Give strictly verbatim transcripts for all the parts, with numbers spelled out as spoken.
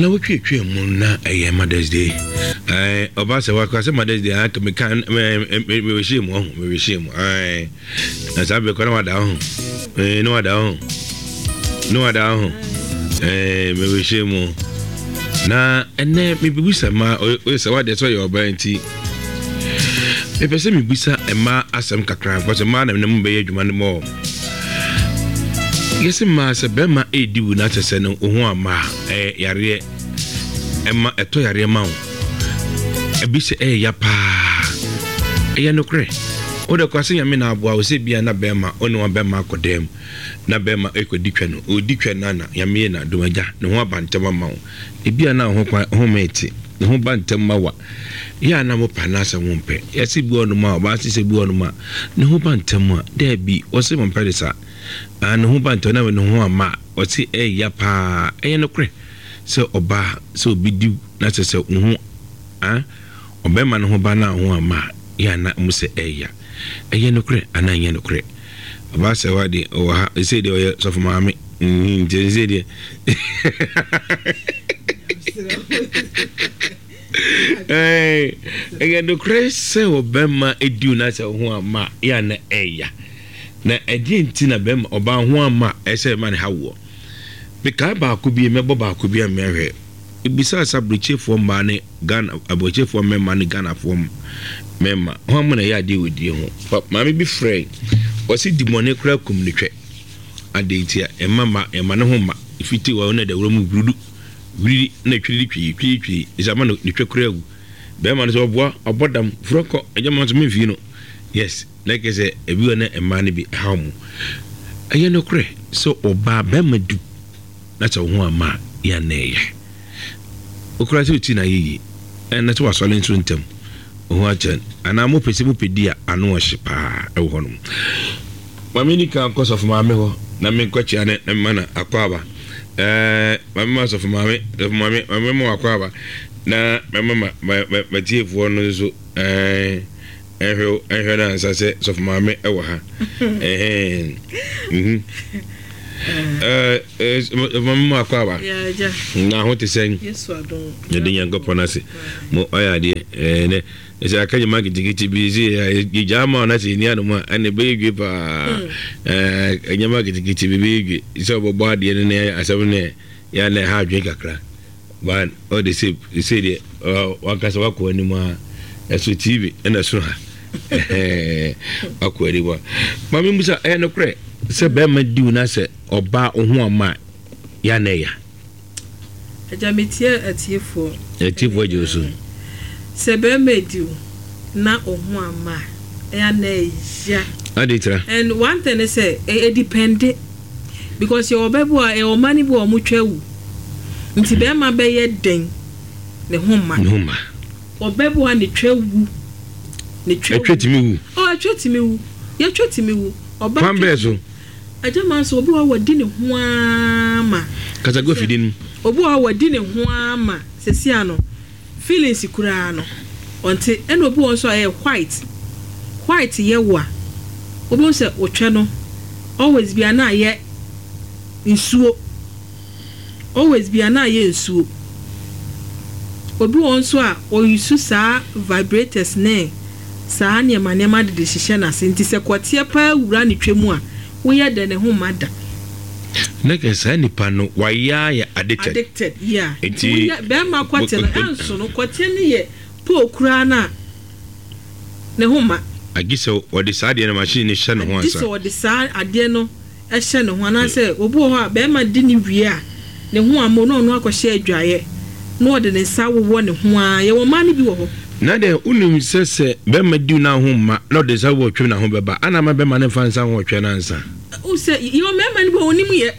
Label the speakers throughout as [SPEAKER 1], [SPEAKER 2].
[SPEAKER 1] Na wotwetwe mu na ɛyɛ Mother's Day. Ɛɛ ɔba sɛ wakɔ sɛ Mother's Day anka meka mewɛhyɛ mu ɔho mewɛhyɛ mu. Ɛɛ na saa bɛkɔ na wada ho. Ɛɛ na wada ho. Na wada ho. Ɛɛ mewɛhyɛ mu. Na ɛnɛ mebisa ma ɔyɛ sɛ wadeɛ sɛ ɔyɛ ɔbaa nti. Mepɛ sɛ mebisa mmaa asɛm kakra because mmaa na mu bɛyɛ adwuma no mɔ. Yɛsɛ mmaa sɛ bɛrima ɛredi wu na kyɛ sɛ no wo ho amma a ɛyɛ yareɛ ɛma ɛtɔ yareɛ ma wo. Ebi sɛ ɛyɛ ya paa. Ɛyɛ nokorɛ. Wode kɔ sɛ Nyame na aboa wo sɛ bia na bɛrima wo ne wa bɛrima akɔ dɛm na bɛrima ɛkɔdi twɛ no ɔdi twɛ no na Nyame yɛ na dom agya ne ho aba ntɛm ama wo. Ebi a na ho kwan ho mɛte ne ho ba ntɛm ma wa. Yɛ a na mo pa na asɛ wo mpɛ. Yɛsɛ bi wɔ no ma ɔbaa sɛ bi wɔ no ma ne ho ba ntɛm a daabi wɔsɛ mo mpɛ de saa. Ah, ne ho ba ntɛm na ne ho ama ɔse ɛyɛ paa. Ɛyɛ nokorɛ sɛ ɔbaa sɛ obi di na sɛ sɛ wo ho ah ɔbɛrima ne ho ba na ho ama yɛ ana mo sɛ ɛyɛ. Ɛyɛ nokorɛ anaa ɛnyɛ nokorɛ. Ɔbaa sɛ wa de ɔwɔ ha ɛsɛ deɛ ɔyɛ sɔfo maame nti ɛsɛ deɛ ɛyɛ nokorɛ sɛ ɔbɛrima edi na sɛ ho ama yɛ ana ɛyɛ. Na ɛdeɛ nti na bɛrima ɔbaa ho ama ɛsɛ ɛma ne ha woɔ. Mekae baako bi mɛbɔ baako bi a mɛhwɛ. Ebisa sɛ aburokyefoɔ mmaa ne Ghana aburokyefoɔ mmarima ne Ghanafoɔ mmarima ho ama na ɛyɛ adeɛ wɔ die ho. Maame bi frɛ ɔsi di mɔne koraa kum ne twɛ. Adeɛ nti a ɛma ma ɛma ne ho ma efiti wɔ na dawuro mu wurudu wuridi na twiri twi twi twi ɛsɛ ama ne twɛ koraa wu. Bɛrima no sɛ ɔboa ɔbɔ dam furo kɔ ɛgya ma nso memfii no. Yes. Na kɛ sɛ ebi wɔ ne mmaa no bi ɛhaw mu. Ɛyɛ nokorɛ sɛ ɔbaa bɛrima du na sɛ wo ho ama yɛ ana ɛyɛ. Okura sɛ oti na ayɛ yie ɛna sɛ wasɔre nso ntɛm ho akyɛ anaa mopɛ sɛ mopɛ di a ano ɔhye paa ɛwɔ hɔ nom. Maame ni kan kɔ sɔfo maame hɔ na menkɔkyea ne na mema no akɔ aba. Ɛɛ maame ma sɔfo maame sɔfo maame maame ma wakɔ aba na mɛma ma matiefoɔ no nso ɛɛ ɛhwɛ ɛhwɛ na ansa sɛ sɔfo maame ɛwɔ ha. Ɛhɛn mhm ɛɛ ɛɛ maame ma akɔ aba na ho te sɛn yɛde Nyankopɔn ase mo ɔyɛ adeɛ ɛɛ nɛ ɛsɛ aka nyɛ kitikiti bi sɛ yɛgyaa ma ɔna sɛ ɛni anom a ɛne ɛbɛyɛ dwe paa. Ɛɛ nyɛma kitikiti bi bɛyɛ dwe sɛ ɔbɛbɔ adeɛ no ne asɛm no yɛ na ɛha adwene kakra. But ɔde sɛ sɛ deɛ wankasa wakɔ anim a ɛso T V ɛna ɛso ha wakɔ anim a maame musa ɛyɛ nokorɛ sɛ bɛrima diw na sɛ ɔbaa wo ho ama yɛ na ɛya.
[SPEAKER 2] Agya metie atiefoɔ.
[SPEAKER 1] Atiefoɔ agye wo so.
[SPEAKER 2] Sɛ bɛrima diw na wo ho ama ɛyɛ na ɛya.
[SPEAKER 1] Ade tira.
[SPEAKER 2] And one thing is sɛ ɛ depende because yɛ ɔbɛ bi a yɛ ɔma ni bi a ɔmo twa wu. Nti bɛrima bɛyɛ den ne ho ma.
[SPEAKER 1] Ne ho ma.
[SPEAKER 2] Ɔbɛ bi a ne twa wu. Ne twa wu.
[SPEAKER 1] Ɛtwa timi wu.
[SPEAKER 2] Oh, ɛtwa timi wu. Yɛtwa timi wu. Ɔba
[SPEAKER 1] kwan bɛɛ so.
[SPEAKER 2] Agya ma nso obi wɔ wadi ne ho ama.
[SPEAKER 1] Kasago fidi no.
[SPEAKER 2] Obi wɔ wadi ne ho ama sesi ano. Feelings koraa no. Ɔnte ɛna obi wɔ nso a ɛyɛ white. White yɛ wo a. Obi wɔ sɛ otwa no always bi ana yɛ nsuo. Always bi ana yɛ nsuo. Obi wɔ nso a oyusu saa vibrators ne saa nneɛma nneɛma de de hyehyɛ n'ase nti sɛ kɔteɛ paa wura ne twɛ mu a woyɛ dɛ ne ho ma da.
[SPEAKER 1] Na kɛ saa nipa no wayɛ ayɛ addicted.
[SPEAKER 2] Addicted, yeah. Nti bɛrima kɔteɛ no ɛnso no kɔteɛ no yɛ poo koraa na ne ho ma.
[SPEAKER 1] Agye sɛ ɔde saa adeɛ no machine no hyɛ ne ho ansa.
[SPEAKER 2] Agye sɛ ɔde saa adeɛ no ɛhyɛ ne ho anaasɛ obi wɔ hɔ a bɛrima di ne wie a ne ho ama no ɔno akɔhyɛ adwaeɛ na ɔde ne nsa wowɔ ne ho a yɛwɔ mmaa no bi wɔ hɔ.
[SPEAKER 1] Na deɛ wonim sɛ sɛ bɛrima di na ho ma na ɔde nsa wɔ twem na ho bɛba ana ama bɛrima ne mfa nsa ho ɔtwɛ no ansa.
[SPEAKER 2] Wo sɛ yɛwɔ mmarima no bi wɔ wɔnim yɛ.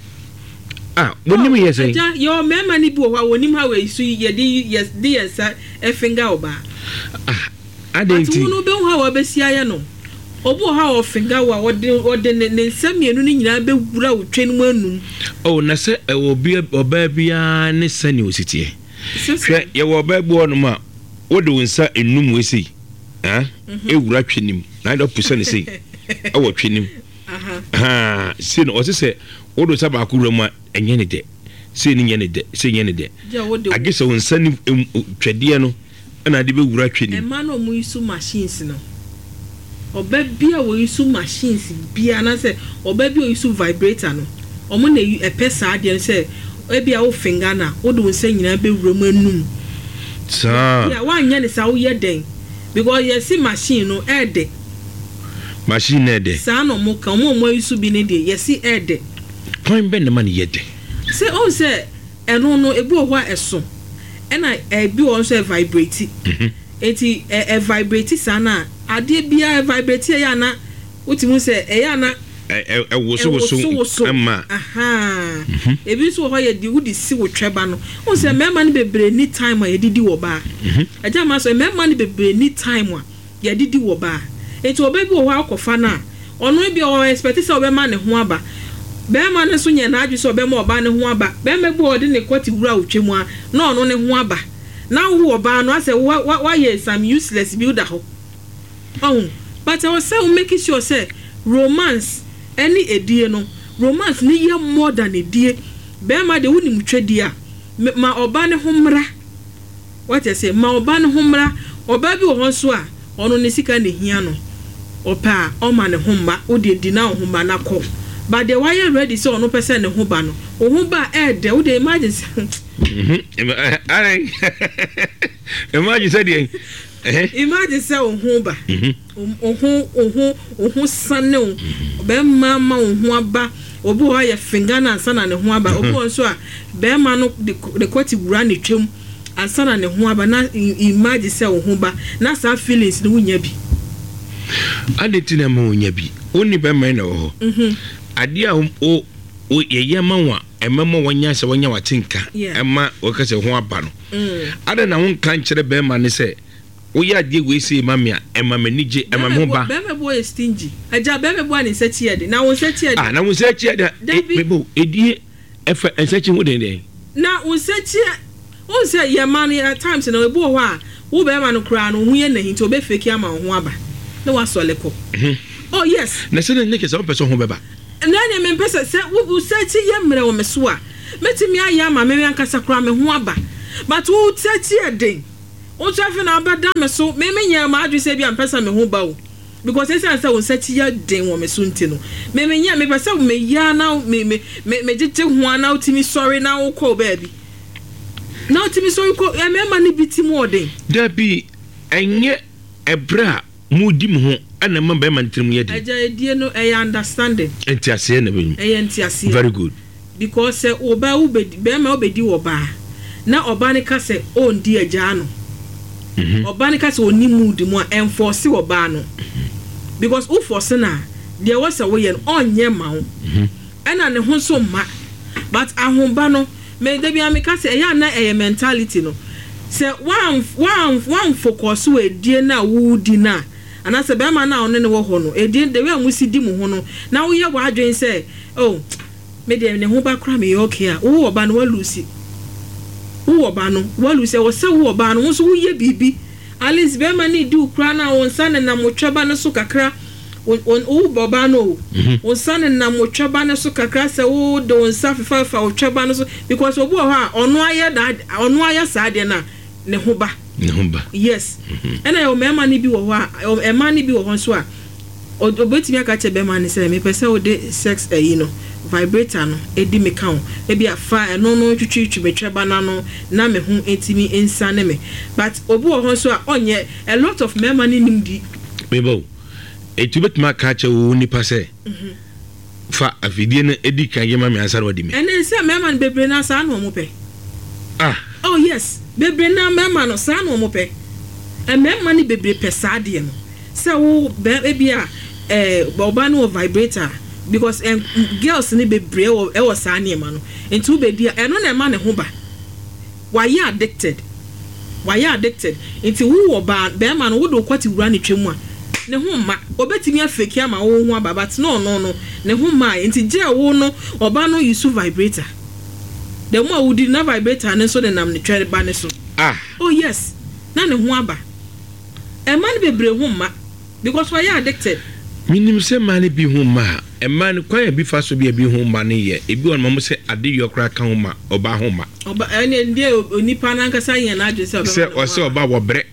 [SPEAKER 1] Ah, wɔnim yɛ sɛn?
[SPEAKER 2] Agya yɛwɔ mmarima no bi wɔ hɔ a wɔnim ha wɔ so yɛde yɛde yɛn nsa ɛfinga ɔbaa.
[SPEAKER 1] Ah, adɛn nti?
[SPEAKER 2] Ati wo no bɛhu ha wɔbɛsi ayɛ no. Obi wɔ hɔ a ɔfinga wo a ɔde ɔde ne ne nsa mmienu no nyinaa bɛwura wo twɛ no mu anum.
[SPEAKER 1] Oh, na sɛ ɛwɔ bi ɔbaa biara ne sɛnea osi teɛ. Hwɛ, yɛwɔ ɔbaa bi wɔ hɔnom a wode wo nsa enum wei sei ah ewura twɛ nim na ade ɔpusa ne sei ɛwɔ twɛ nim. Ha, sei no ɔse sɛ wode nsa baako wura mu a ɛnyɛ ne dɛ. Sei ne nyɛ ne dɛ, sei nyɛ ne dɛ.
[SPEAKER 2] Gye a wode wo.
[SPEAKER 1] Agye sɛ wo nsa ne twɛdeɛ no na ade bɛwura twɛ no mu.
[SPEAKER 2] Mmaa no a wɔyi so machines no, ɔba bi a wɔyi so machines biara anaasɛ ɔba bi a ɔyi so vibrator no, wɔn na ɛpɛ saa adeɛ no sɛ ebi a wo finger no a, wode wo nsa nyinaa bɛwura mu anum.
[SPEAKER 1] Saa.
[SPEAKER 2] Yeah, woanyɛ no saa woyɛ dɛn? Because yɛse machine no ɛɛdɛ.
[SPEAKER 1] Machine no ɛɛdɛ.
[SPEAKER 2] Saa na wɔn ka, wɔn a wɔayi so bi no deɛ yɛse ɛɛdɛ.
[SPEAKER 1] Kwan bɛn na ɛma no yɛ dɛ?
[SPEAKER 2] Sɛ wohu sɛ ɛno no ebi wɔ hɔ a ɛso, ɛna ebi wɔ hɔ nso ɛvibrate. Enti ɛ ɛvibrate saa no a, adeɛ biara ɛvibrate a ɛyɛ a na wotumi hu sɛ ɛyɛ a na.
[SPEAKER 1] Ɛ ɛ ɛwosowoso
[SPEAKER 2] Ɛwosowoso.
[SPEAKER 1] ma.
[SPEAKER 2] Ahaa. Ebi nso wɔ hɔ a yɛde wode si wo twɛba no. Wohu sɛ mmarima no bebree nni time a yɛde di wɔ baa. Agya mma sɛ mmarima no bebree nni time a yɛde di wɔ baa. Enti ɔbaa bi wɔ hɔ a wokɔfa no a, ɔno ebia ɔ expect sɛ wobɛma ne ho aba. Barima no nso nyɛ n'adwene sɛ ɔbɛma ɔbaa no ho aba. Barima bi wɔ hɔ a ɔde ne kɔte wura wo twam a, na ɔno ne ho aba. Na wo ɔbaa no asɛ wa wa wayɛ some useless bi woda hɔ. Wahu? But ɛwɔ sɛ wo make sure sɛ romance ɛne edie no, romance no yɛ more than edie. Barima deɛ wonim twɛdie a, ma ɔbaa no ho mmra. Wate aseɛ? Ma ɔbaa no ho mmra. Ɔbaa bi wɔ hɔ nso a, ɔno ne sika na ɛhia no. Ɔpɛ a, ɔma ne ho mma. Wo deɛ di na wo ho mma na kɔ. But deɛ wayɛ ready sɛ ɔno pɛ sɛ ne ho ba no, wo ho ba a, ɛɛdɛ. Wo deɛ imagine sɛ.
[SPEAKER 1] Imagine sɛ deɛ.
[SPEAKER 2] Imagine sɛ wo ho ba. Wo ho, wo ho, wo ho sane wo. Bɛrima ama wo ho aba. Obi wɔ hɔ a yɛ finger no ansa na ne ho aba. Obi wɔ hɔ nso a, bɛrima no de ne kɔte wura ne twam ansa na ne ho aba. Na imagine sɛ wo ho ba na saa feelings no wonya bi.
[SPEAKER 1] Adɛn nti na ɛma wonya bi? Wo ne bɛrima yi na ɛwɔ hɔ. Adeɛ a wo wo yɛyɛ ma wo a ɛmɛma wanya sɛ wanya w'atenka ɛma wɔka sɛ ho aba no. Adɛn na wonka nkyerɛ bɛrima no sɛ woyɛ adeɛ wei sei ma me a ɛma m'ani gye, ɛma me ho ba?
[SPEAKER 2] Bɛrima bi yɛ stingy. Agya, bɛrima bi a ne nsa kyi yɛ den. Na wo nsa kyi yɛ den.
[SPEAKER 1] Ah, na wo nsa kyi yɛ den.
[SPEAKER 2] Dabi.
[SPEAKER 1] Mebo, edie ɛfa nsa kyi ho den dɛn?
[SPEAKER 2] Na wo nsa kyi yɛ, wohu sɛ yɛ mmaa no at times no, ebi wɔ hɔ a, wo bɛrima no koraa no, wo ho yɛ nahi nti ɔbɛ fake ama wo ho aba na wasɔle kɔ. Oh yes.
[SPEAKER 1] Na sɛ na kyerɛ sɛ wompɛ sɛ wo ho bɛba?
[SPEAKER 2] Na ɛneɛ mempɛ sɛ, sɛ wo nsa kyi yɛ mmerɛ wɔ me so a, mɛtumi ayɛ ama me ankasa koraa me ho aba. But wo nsa kyi yɛ den. Wo nso afei na wabɛda me so. Me menyɛɛ m'adwene sɛ ebia mepɛ sɛ me ho ba o. Because esiane sɛ wo nsa ti yɛ den wɔ me so nti no, me menyɛ, mepɛ sɛ meyɛ ara na me me me megyegye ho ara na wotumi sɔre na wokɔ wo baabi. Na wotumi sɔre kɔ, mmarima no bi ti mu ɔden.
[SPEAKER 1] Dabi, ɛnyɛ ɛberɛ a modi mo ho na ɛma barima no tirim yɛ den.
[SPEAKER 2] Agya, edie no ɛyɛ understanding.
[SPEAKER 1] Nteaseɛ na ɛbɛmu.
[SPEAKER 2] Ɛyɛ nteaseɛ.
[SPEAKER 1] Very good.
[SPEAKER 2] Because sɛ ɔbaa wo bɛdi, barima wo bɛdi ɔbaa na ɔbaa no ka sɛ ɔndi a gyaa no. Ɔbaa no ka sɛ ɔnni mood mu a, ɛnfɔɔse ɔbaa no. Because wo fɔɔse no a, deɛ ɛwɔ sɛ woyɛ no ɔnyɛ mma wo. Ɛna ne ho nso mma. But ahoba no, me da biara meka sɛ ɛyɛ a na ɛyɛ mentality no. Sɛ woanfocus wɔ adie no a woredi no a, anaasɛ barima no a wo ne no wɔ hɔ no, adie no, the way a mosi di mo ho no, na woyɛ w'adwene sɛ oh, me deɛ ne ho ba koraa meyɛ okay a, wo ɔba no woalusi. Wo ɔba no woalusi. Ɛwɔ sɛ wo ɔbaa no wo nso woyɛ biribi. At least barima no redi wo koraa no a, wo nsa nenam wo twɛba no so kakra. Wo wo ɔbaa no o, wo nsa nenam wo twɛba no so kakra sɛ wode wo nsa fefafefa wo twɛba no so because obi wɔ hɔ a ɔno ayɛ n'ade, ɔno ayɛ saa adeɛ no a, ne ho ba.
[SPEAKER 1] Ne ho ba.
[SPEAKER 2] Yes. Ɛna yɛwɔ mmarima no bi wɔ hɔ a, mmaa no bi wɔ hɔ nso a, Obetumi aka akyerɛ bɛrima no sɛ, Mepɛ sɛ wode sex ayi no, vibrator no, di me ka o. Ebia fa ɛno no twitwiritwi me twɛba no ano na me ho ntumi nsiane me. But obi wɔ hɔ nso a ɔnyɛ, a lot of mmarima no nnim di.
[SPEAKER 1] Me ba o, enti wobɛtumi aka akyerɛ wo nipa sɛ, Fa afidie no di kan yɛ ma me ansa na wadi me?
[SPEAKER 2] Ɛnne sɛ mmarima no bebree no ara saa na wɔpɛ.
[SPEAKER 1] Ah!
[SPEAKER 2] Oh yes, bebree no ara mmarima no saa na wɔpɛ. Mmarima no bebree pɛ saa adeɛ no. Sɛ wo bɛ ebia eh ɔbaa no wɔ vibrator a because eh girls no bebree wɔ ɛwɔ saa nneɛma no nti wo bɛdi a ɛno na ɛma ne ho ba. Wayɛ addicted wayɛ addicted nti wo ɔbaa bɛɛma no wode wo kɔte wura ne twɛ mu a ne ho mma. Ɔbɛtumi afake ama wo ho aba but na ɔno no ne ho mmaeɛ nti gyɛ wo no ɔbaa no use vibrator the more a wodi no na vibrator no nso nenam ne twɛ ba no so.
[SPEAKER 1] Ah!
[SPEAKER 2] Oh yes na ne ho aba. Ɛma no bebree ho mma because wayɛ addicted.
[SPEAKER 1] Menim sɛ mmaa no bi ho mma a Mmaa no, kwan a ebi fa so bi a ebi ho mma no yɛ, ebi wɔ no ma mo sɛ ade yɔ koraa ka ho ma ɔbaa ho mma.
[SPEAKER 2] Ɔba ɛne deɛ onipa n'ankasa yɛn n'adwene sɛ
[SPEAKER 1] sɛ
[SPEAKER 2] ɔbɛma ne ho
[SPEAKER 1] ɔsɛ
[SPEAKER 2] aba.
[SPEAKER 1] Ɔba wɔbrɛ,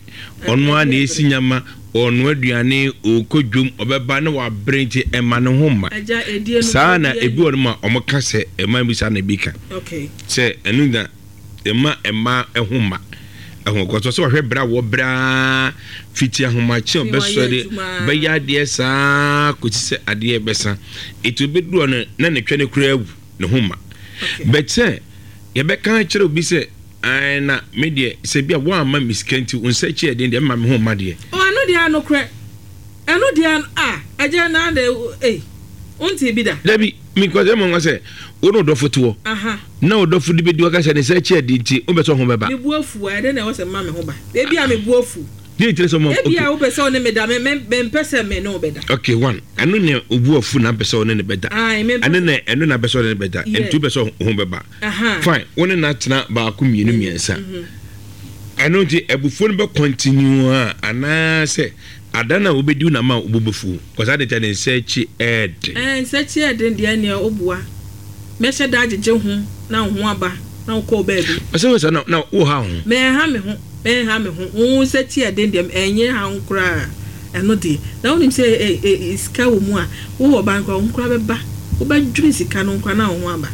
[SPEAKER 1] ɔno ara na esi nyama, ɔnoa aduane, ɔkɔ dwom, ɔbɛba na wabrɛ, nti ɛma ne ho mma.
[SPEAKER 2] Agya, edie no
[SPEAKER 1] saa na
[SPEAKER 2] obiara
[SPEAKER 1] ebi wɔ no ma ɔmo ka sɛ ɛma bi saa na ebi ka
[SPEAKER 2] okay
[SPEAKER 1] sɛ ɛno na ɛma ɛma ɛho mma ɛho kɔsɔ sɛ ɔhwɛ brɛ a wɔbrɛ fiti ahomakye a
[SPEAKER 2] Fi wayɛ
[SPEAKER 1] ɔbɛsɔre
[SPEAKER 2] adwuma.
[SPEAKER 1] Bɛyɛ adeɛ saa kòsi sɛ adeɛ bɛsa, etu obɛduru hɔ no na ne twɛ ne koraa awu ne ho mma.
[SPEAKER 2] Okay
[SPEAKER 1] bɛkyɛ yɛbɛka kyerɛ obi sɛ ɛn na me deɛ, sɛ bi a wɔamma me sika nti wo nsa akyi ɛden deɛ, ɛma me ho mma deɛ.
[SPEAKER 2] Ɔ, ɛno deɛ anokorɛ, ɛno deɛ a agya na de ei wonte bi da.
[SPEAKER 1] Dabi, because ɛma nwa sɛ wo ne ɔdɔfo te hɔ
[SPEAKER 2] aha
[SPEAKER 1] na ɔdɔfo de bɛdi waka sɛ ne nsa akyi ɛden nti wobɛ sɛ ɔho bɛba.
[SPEAKER 2] Me bu afu a, ɛdɛ na ɛwɔ sɛ mma me ho ba ebi a me bu afu.
[SPEAKER 1] Deɛ nkyerɛ sɛ ɔma
[SPEAKER 2] Ebi
[SPEAKER 1] okay
[SPEAKER 2] a wopɛ sɛ ɔne me da, me me mempɛ sɛ me ne wo bɛda.
[SPEAKER 1] Okay, one, ɛno ne obu afu na mpɛ sɛ ɔne ne bɛda.
[SPEAKER 2] Ae, mempɛ.
[SPEAKER 1] Ɛno na ɛno na mpɛ sɛ ɔne ne bɛda.
[SPEAKER 2] Yeah.
[SPEAKER 1] Nti wopɛ sɛ ɔho bɛba.
[SPEAKER 2] Aha
[SPEAKER 1] fine, wo ne na tena baako, mmienu, mmiɛnsa, ɛno nti abufuo no bɛ continue a, anaasɛ ada no a wobɛdi wo nama a wobɛbɛfuo kɔsa de kyɛ ne nsa akyi ɛɛden?
[SPEAKER 2] Ɛɛ, nsa akyi ɛden deɛ, neɛ wobua mɛhyɛ da agyegye ho na wo ho aba na wokɔɔ baabi.
[SPEAKER 1] Ɔsɛ wo sɛ na na woha ho.
[SPEAKER 2] Mɛnha me ho, mɛnha me ho. Wo nsa akyi ɛden deɛ, ɛnyɛ ha ho koraa. Ɛno deɛ na wonim sɛ ɛ ɛ sika wɔ mu a, wowɔ ba nkora wo ho koraa bɛba, wobɛdwene sika no nkora na wo ho aba.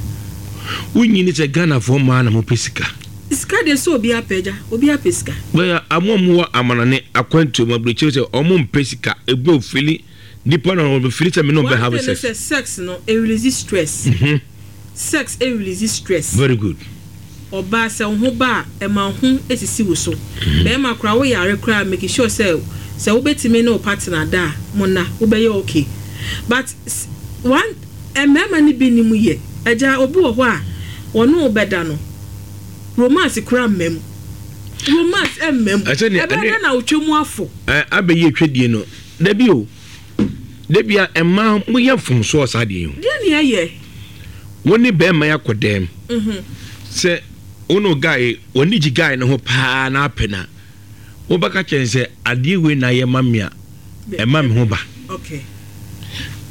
[SPEAKER 1] Wonyini sɛ Ghanafoɔ mmaa na mopɛ sika.
[SPEAKER 2] Sika deɛ, sɛ obi apɛ, agya, obi apɛ sika.
[SPEAKER 1] Bɛyɛ amo a mowɔ amanane akwantuo mu aburokyire sɛ ɔmo mpɛ sika, ebi ofili nipa na ɔmo fili sɛ me ne ɔbɛ have
[SPEAKER 2] One thing ne
[SPEAKER 1] sex.
[SPEAKER 2] sɛ sex no ɛrelease stress.
[SPEAKER 1] Mhm.
[SPEAKER 2] Sex ɛrelease stress.
[SPEAKER 1] Very good.
[SPEAKER 2] Ɔbaa, sɛ wo ho ba a, ɛma wo ho esisi wo so. Bɛrima koraa, woyare koraa, make sure sɛ sɛ wobɛtumi ne wo partner da a, mo na wobɛyɛ okay. But s- one, mmarima no bi nim yɛ, agya, obi wɔ hɔ a wɔne wo bɛda no, romance koraa mma mu, romance mma mu.
[SPEAKER 1] Ɛsɛ nea-
[SPEAKER 2] ɛbɛyɛ
[SPEAKER 1] ɛne-
[SPEAKER 2] dɛ na wotwa mu afo.
[SPEAKER 1] Ɛ abɛyɛ twɛdie no, dabi o, dabi a mmaa moyɛ mfomsoɔ saa deɛ yi ho.
[SPEAKER 2] Deɛ ne ɛyɛ.
[SPEAKER 1] Wo ne bɛrima yɛ akɔ dɛm
[SPEAKER 2] Mhm.
[SPEAKER 1] sɛ wo ne guy wɔne gye guy no ho paa na apɛ na wobɛka kyɛn sɛ adeɛ wei na ayɛ ma me a, ɛma me ho ba.
[SPEAKER 2] Okay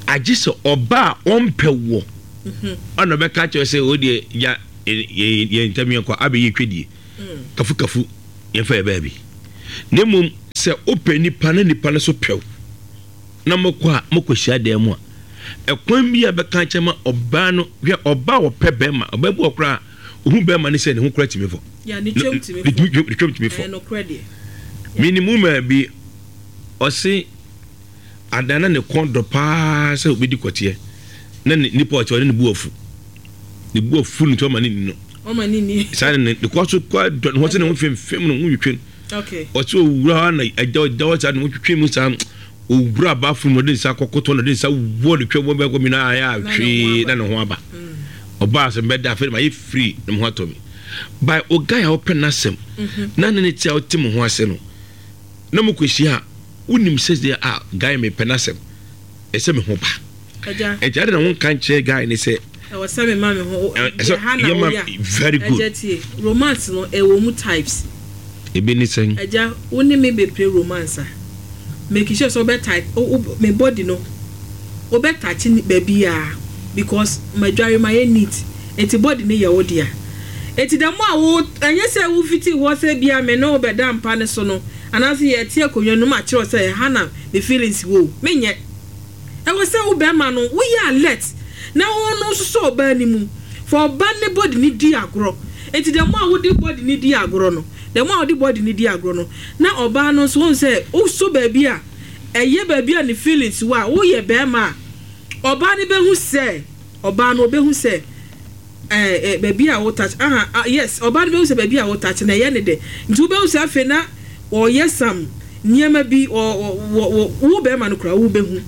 [SPEAKER 1] agye sɛ ɔba a ɔmpɛ wɔ
[SPEAKER 2] Mhm.
[SPEAKER 1] ɔna ɔbɛka kyerɛ sɛ o deɛ ya yɛ yɛ ntam yɛn kɔ abɛyɛ twɛdie
[SPEAKER 2] Mm.
[SPEAKER 1] kafu kafu yɛmfa yɛ baabi. Na mmom sɛ wopɛ nipa na nipa no so pɛw na mokɔ a, mokɔhyia dan mu a, ɛkwan bi a bɛka kyerɛ ma ɔbaa no, hwɛ, ɔbaa a ɔpɛ bɛrima, ɔbaa bi wɔ koraa ohu bɛrima no sɛ ne ho kora tumi fɔ.
[SPEAKER 2] Ya, ne twam tumi
[SPEAKER 1] ne
[SPEAKER 2] fɔ.
[SPEAKER 1] ne twam tumi fɔ.
[SPEAKER 2] Ɛyɛ nokorɛ deɛ.
[SPEAKER 1] Minimu maa bi ɔse adana ne kɔn dɔ paa sɛ obɛdi kɔteɛ na ne nipa ɔkyɛ ɔne ne bu afu, ne bu afu no nti ɔma ne ni no.
[SPEAKER 2] Ɔma ne ni.
[SPEAKER 1] Saa ne ne kɔ so kɔ dɔ ne ho sɛ ne ho femfem ne ho twitwe no.
[SPEAKER 2] Okay
[SPEAKER 1] ɔsɛ owura hɔ na agya ɔda hɔ saa ne ho twitwe mu saa, owura abaafo mu, ɔde nsa kɔkɔtɔ na ɔde nsa wɔ ne twɛ wɔ bɛkɔ mi na ayɛ atwee na ne ho aba. Ɔbaa sɛ mbɛda afei ma yɛ firi ne ho atɔ mi by ɔguy a ɔpɛ n'asɛm na ne ne te a ɔte mo ho ase no na mo kɔ hyia a, wonim sɛ deɛ a guy mepɛ n'asɛm, ɛsɛ me ho ba.
[SPEAKER 2] Agya.
[SPEAKER 1] Ɛnti ade na wo nka nkyerɛ guy ne sɛ
[SPEAKER 2] ɛwɔ sɛ me ma me ho.
[SPEAKER 1] Ɛ- ɛsɛ
[SPEAKER 2] ha na
[SPEAKER 1] yɛma-
[SPEAKER 2] woyɛ.
[SPEAKER 1] Very good.
[SPEAKER 2] Agya, tie, romance no ɛwɔ mu types.
[SPEAKER 1] Ebi ne sɛn?
[SPEAKER 2] Agya, wo ne me bɛplay romance a, make sure sɛ wobɛ wo wo me body no, wobɛ touch ne baabi a, because madware ma yɛ neat, eti body ne yɛ wo dea. Eti dɛm a wo ɛnyɛ sɛ wo fiti hɔ sɛ bia me ne wo bɛda mpa ne so no, anaasɛ yɛte akonnwa no mu akyerɛw sɛ ɛha na me feelings wɔ o, menyɛ. Ɛwɔ sɛ wo bɛrima no woyɛ alert na wo no nso sɔ ɔbaa ne mu fa ɔba ne body ne di agorɔ. Eti dɛm a wode body ne di agorɔ no, dɛm a wode body ne di agorɔ no, na ɔbaa no nso wɔn sɛ wosɔ baabi a ɛyɛ baabi a ne feelings wɔ a, woyɛ bɛrima a, ɔbaa no bɛhu sɛ ɔbaa no ɔbɛhu sɛ ɛɛ ɛ baabi a wo touch aha, ah, yes, ɔbaa no bɛhu sɛ baabi a wo touch na ɛyɛ ne dɛ. Nti wobɛhu sɛ afei na ɔyɛ sam nneɛma bi wɔ wɔ wɔ wo bɛrima no koraa, wo bɛhu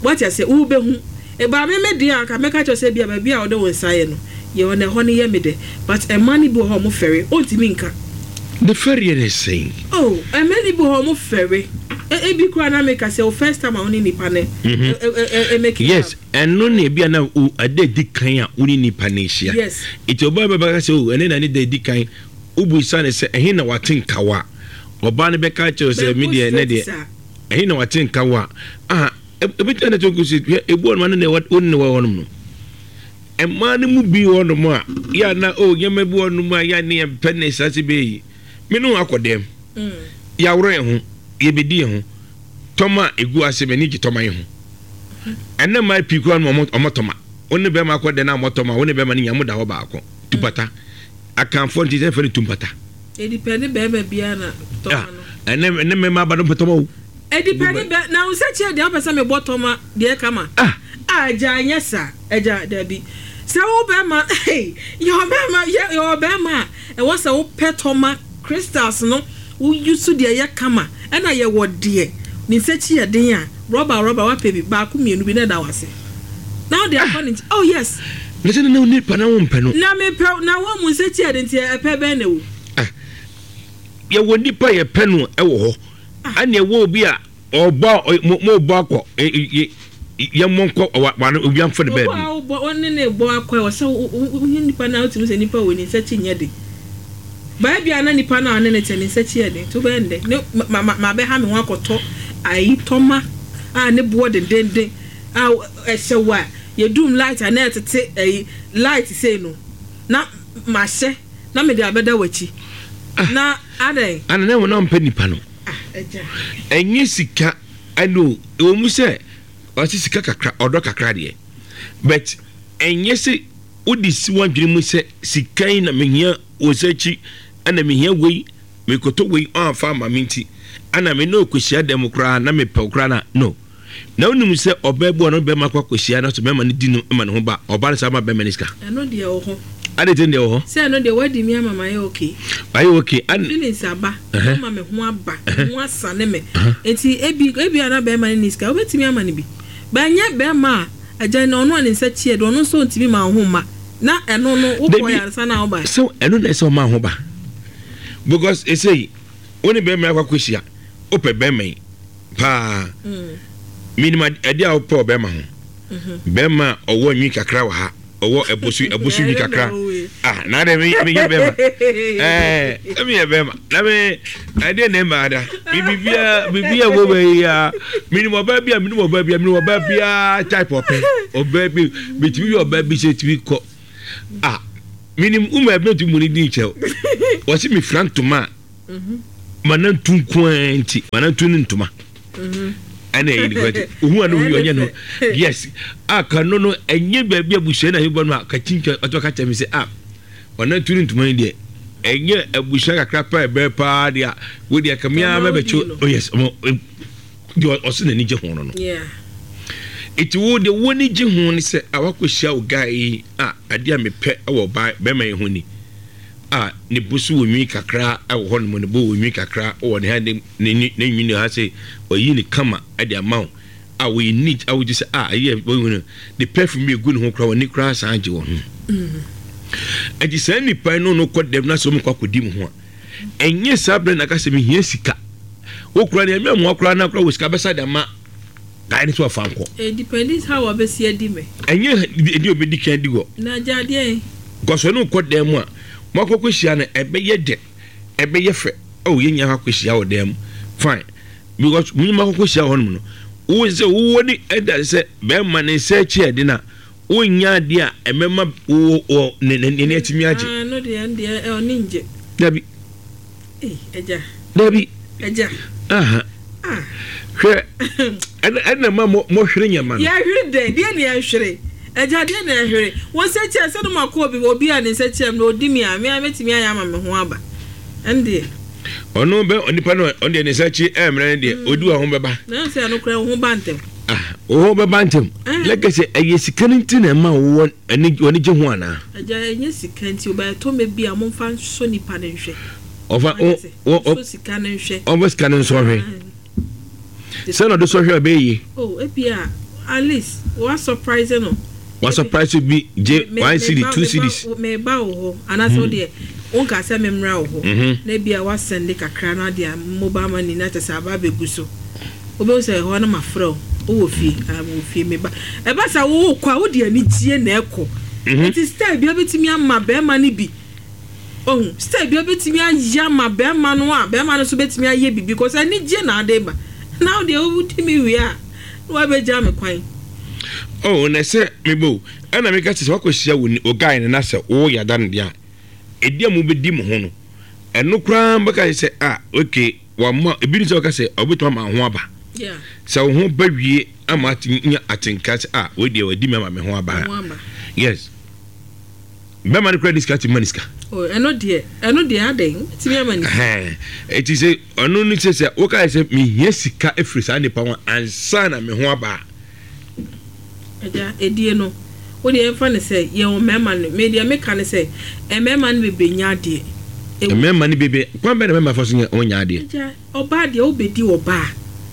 [SPEAKER 2] wate ase, wo bɛhu ɛbaa me me deɛ a, nka mɛka kyerɛ sɛ bia baabi a wɔde wo nsa yɛ no yɛ hɔ na ɛhɔ no yɛ me dɛ. But ɛma no bi wɔ hɔ a, ɔmo fɛre, ɔntumi nka.
[SPEAKER 1] Ne fɛreɛ ne sɛn?
[SPEAKER 2] Oh, ɛmɛ no bi wɔ hɔ a, ɔmo fɛre. E- ebi koraa na meka sɛ o first time a wo ne nipa no
[SPEAKER 1] Mhm.
[SPEAKER 2] ɛ ɛ ɛ ɛ make
[SPEAKER 1] Yes, ɛno ne ebi a na o ɛda edi kan a wo ne nipa no ahyia.
[SPEAKER 2] Yes.
[SPEAKER 1] Nti ɔbaa bɛba ka sɛ o ɛne na ne da edi kan, wobusa ne sɛ ɛhe na wate nkawa a, ɔbaa no bɛka kyerɛ wo sɛ me deɛ ne deɛ ɛhe na wate nkawa a, aha. Ebi na to kusi ebu ɔno ne ne wo ne wɔ hɔnom no. Mmaa no mu bi wɔ hɔnom a ya na o nyɛma bi wɔ hɔnom a ya ne yɛn pɛ ne saa se bɛyi. Me no akɔ dɛm. Yɛaworɔ yɛn ho, yɛbɛdi yɛn ho. Tɔma egu ase m'ani gye tɔma yi ho. Ɛnna mmaa pii koraa no ɔmo ɔmo tɔma. Wo ne bɛrima akɔ dɛm na ɔmo tɔma, wo ne bɛrima no nya mo da hɔ baako. Tupata. Akanfoɔ nti sɛ fɛ no tumpata.
[SPEAKER 2] Edipɛ ne bɛrima biara na tɔma no.
[SPEAKER 1] Ɛnɛ ɛnɛ mmarima aba no mpɛ tɔma o.
[SPEAKER 2] Edipɛ ne bɛ na wo sɛ kyerɛ deɛ wopɛ sɛ mebɔ tɔma deɛ kama.
[SPEAKER 1] Ah.
[SPEAKER 2] Ah, agya nyɛ saa. Agya dabi. Sɛ wo bɛrima yɛ ɔbɛrima yɛ yɛ ɔbɛrima a ɛwɔ sɛ wopɛ tɔma crystals no woyi so deɛ yɛ kama ɛna yɛwɔ deɛ ne nsa kyi yɛ den a rɔba rɔba wapɛ bi baako mmienu bi na ɛda wase na wode akɔ ne nkyɛn. Oh yes.
[SPEAKER 1] Na sɛ ne nipa na wo mpɛ no.
[SPEAKER 2] Na mepɛ na wɔn mu nsa kyi yɛ den nti ɛpɛ bɛn na ɛwɔ.
[SPEAKER 1] Ah. Yɛwɔ nipa yɛpɛ no ɛwɔ hɔ. Ɛna ɛwɔ obi a ɔbɔ mo mo bɔ akɔ yɛ mo nkɔ wa wa obi amfa ne
[SPEAKER 2] Obi a
[SPEAKER 1] baabi.
[SPEAKER 2] wobɔ wɔne ne bɔ akɔ ɛwɔ sɛ wohu nipa na wotumi sɛ nipa wɔ ne nsa kyi nyɛ den. Baabi a na nipa no a ɔne ne te ne nsa kyi yɛ den nti wobɛyɛ ne dɛ ne ma ma ma bɛha me ho akɔtɔ ayi tɔma a ne boɔ dendenden a ɛhyɛ wo a yɛdum light a na ɛtete ayi light sei no na mahyɛ na mede abɛda w'akyi na adɛn.
[SPEAKER 1] Ana na wɔn mpɛ nipa no.
[SPEAKER 2] Ah, agya.
[SPEAKER 1] Ɛnyɛ sika ɛno ɛwɔ mu sɛ ɔsi sika kakra ɔdɔ kakra deɛ, but ɛnyɛ sɛ wode si w'adwene mu sɛ sika yi na mehia wɔ nsa akyi ɛna mehia wei mekɔtɔ wei ɔamfa ama me nti ɛna me ne ɔkɔhyia dɛm koraa na mepɛ koraa na no. Na wonim sɛ ɔbaa bi wɔ no bɛrima akɔ akɔhyia na sɛ bɛrima no di no ma ne ho ba ɔbaa no saa ma bɛrima no sika.
[SPEAKER 2] Ɛno deɛ wɔ hɔ.
[SPEAKER 1] Ade te deɛ wɔ hɔ.
[SPEAKER 2] Sɛ ɛno deɛ wadi mi ama ma yɛ okay.
[SPEAKER 1] Ayɛ okay. An
[SPEAKER 2] Feelings aba. Ama me ho aba. Me ho asane me. Eti ebi ebi a na bɛrima no ni sika wobɛtumi ama no bi. Bɛnyɛ bɛrima a agya na ɔno a ne nsa kyi ɛdo ɔno nso ntumi ma wo ho mma. Na ɛno no wokɔ yɛ ansa na woba.
[SPEAKER 1] Sɛ ɛno na ɛsɛ ɔma ho ba. Because ɛsɛ wo ne bɛrima akɔ akɔhyia wopɛ bɛrima yi paa. Minim ade a wopɛ ɔbɛrima ho. Bɛrima a ɔwɔ nwi kakra wɔ ha, ɔwɔ ɛbosu ɛbosu nwi kakra. Ah, na de mi mi yɛ bɛrima. Ɛɛ, mi yɛ bɛrima. Na mi ɛdeɛ na ɛma ada. Mi bibia bibia wɔ wɔ yi ya. Minim ɔbaa bi a minim ɔbaa bi a minim ɔbaa bi a type ɔpɛ. Ɔbaa bi bitumi yɛ ɔbaa bi sɛ tumi kɔ. Ah, minim uma ebi tu mu ni di nkyɛw. Wɔsi mi fira ntoma a. Mana ntu nko nti, mana ntu ne ntoma. Ɛna ɛyɛ nipa ti ohun ano wi ɔnyɛ no yes a kano no ɛnyɛ baabi abusua na yɛbɔ no a kakyintwa ɔtɔ ka kyerɛ mi sɛ a ɔna tu ne ntoma yi deɛ ɛnyɛ abusua kakra pa ɛbɛn paa deɛ a wo deɛ kamea bɛbɛkye oh yes ɔmo deɛ ɔsɛ n'ani gye ho no no eti wo deɛ wo ani gye ho ne sɛ a wakɔhyia wo guy yi a adeɛ a mepɛ ɛwɔ ɔbaa bɛrima yi ho ni a ne bo so wɔ nwi kakra ɛwɔ hɔ nom ne bo wɔ nwi kakra wɔ ne ha ne ne ne nwi ne ha sɛ ɔyi ne kama ɛde ama wo a wɔyɛ neat a wogye sɛ a ɛyɛ wɔyi no ne perfume bi egu ne ho koraa wɔn ani koraa san gye wɔn ho ɛnti saa nipa no no kɔ dɛm na sɛ wɔn kɔ akɔdi mu ho a ɛnyɛ saa abirɛ na aka sɛ mehia sika wokura ne ɛmɛ mu akora na akora wɔ sika bɛsa de ama guy ne so afa nkɔ.
[SPEAKER 2] It depends how ɔbɛsi adi me.
[SPEAKER 1] Ɛnyɛ ɛdi obedi kan di hɔ.
[SPEAKER 2] Na agya adeɛ.
[SPEAKER 1] Gɔsɔ ne kɔ dan mu a mo akɔkɔ hyia no ɛbɛyɛ dɛ ɛbɛyɛ fɛ ɔwɔ yɛn nyinaa akɔ hyia wɔ dan mu fine because mo nyinaa akɔkɔ hyia wɔ hɔnom no wo sɛ wowɔ ne ɛda sɛ bɛrima ne nsa akyi ɛde na wonya adeɛ a ɛmɛma wo wɔ ne ne ne atumi agye.
[SPEAKER 2] Ah no deɛ deɛ ɔne ngye.
[SPEAKER 1] Dabi.
[SPEAKER 2] Ee agya.
[SPEAKER 1] Dabi.
[SPEAKER 2] Agya.
[SPEAKER 1] Aha.
[SPEAKER 2] Ah.
[SPEAKER 1] Hwɛ ɛna ɛna ma mo mo hwere nyɛma no.
[SPEAKER 2] Yɛhwere dɛ deɛ ne yɛhwere agya deɛ ne yɛhwere wɔn nsa kyerɛ sɛ no ma kɔ obi obi a ne nsa kyerɛ mu na odi mi a mi a mɛtumi ayɛ ama me ho aba ɛn deɛ.
[SPEAKER 1] Ɔno bɛ onipa no ɔno deɛ ne nsa akyi ɛmmerɛ ne deɛ odi wɔ ho bɛba.
[SPEAKER 2] Na sɛ ɛno koraa wo ho ba ntɛm.
[SPEAKER 1] Ah, wo ho bɛba ntɛm. Lɛkɛ sɛ ɛyɛ sika no nti na ɛma wowɔ ani wɔne gye ho anaa.
[SPEAKER 2] Agya ɛnyɛ sika nti ɔbɛyɛ tɔ mɛ bi a momfa nsɔ nipa no nhwɛ.
[SPEAKER 1] Ɔfa o o
[SPEAKER 2] nsɔ sika no nhwɛ.
[SPEAKER 1] Ɔfa sika no nsɔ hwɛ. Sɛ na ɔde sɔ hwɛ ɔbɛyɛ yie.
[SPEAKER 2] Oh ebi a at least wa surprise no.
[SPEAKER 1] Wa surprise bi gye one cedi two cedis.
[SPEAKER 2] Meba wɔ hɔ anaasɛ wo deɛ wonka sɛ memmra wɔ hɔ na ebi a wasɛnde kakra na de mobile money na kyɛ sɛ aba abɛgu so wobɛhu sɛ ɛhɔ no mafrɛ wo wowɔ fie wɔ fie meba ɛba sɛ wowokɔ a wode anigyeɛ na ɛkɔ nti style bia bɛtumi ama bɛrima no bi ohun style bia bɛtumi ayɛ ama bɛrima no a bɛrima no nso bɛtumi ayɛ bibi because anigyeɛ na ade ba na wo deɛ wodi mi wie a Na wabɛgya me kwan.
[SPEAKER 1] Oh, na sɛ mebo ɛna meka sɛ sɛ wakɔhyia wo wo guy no na sɛ woyɛ ada no deɛ a, ɛdi a mobɛdi mo ho no, ɛno koraa bɛka sɛ, ah, okay, wama ebi ne sɛ wɔka sɛ ɔbɛtumi ama ho aba.
[SPEAKER 2] Yeah.
[SPEAKER 1] Sɛ wo ho ba wie ama atumi nya atenka sɛ, ah, wei deɛ wadi me ama me ho aba.
[SPEAKER 2] Ho aba.
[SPEAKER 1] Yes, bɛrima no koraa de sika tumi ma ne sika.
[SPEAKER 2] Oh, ɛno deɛ ɛno deɛ adɛn, wobɛtumi ama ne sika.
[SPEAKER 1] Ɛhɛn. Eti sɛ ɔno no sɛ sɛ woka sɛ mehia sika afiri saa nipa ho ansa na me ho aba a.
[SPEAKER 2] Agya, edie no, wo deɛ yɛmfa no sɛ yɛwɔ mmarima no, me deɛ meka ne sɛ mmarima no bebree nya adeɛ. Ɛwɔ
[SPEAKER 1] Mmarima no bebree, kwan bɛn na mmarima fa so nya wɔn nya adeɛ?
[SPEAKER 2] Agya, ɔbaa deɛ wobɛdi ɔbaa,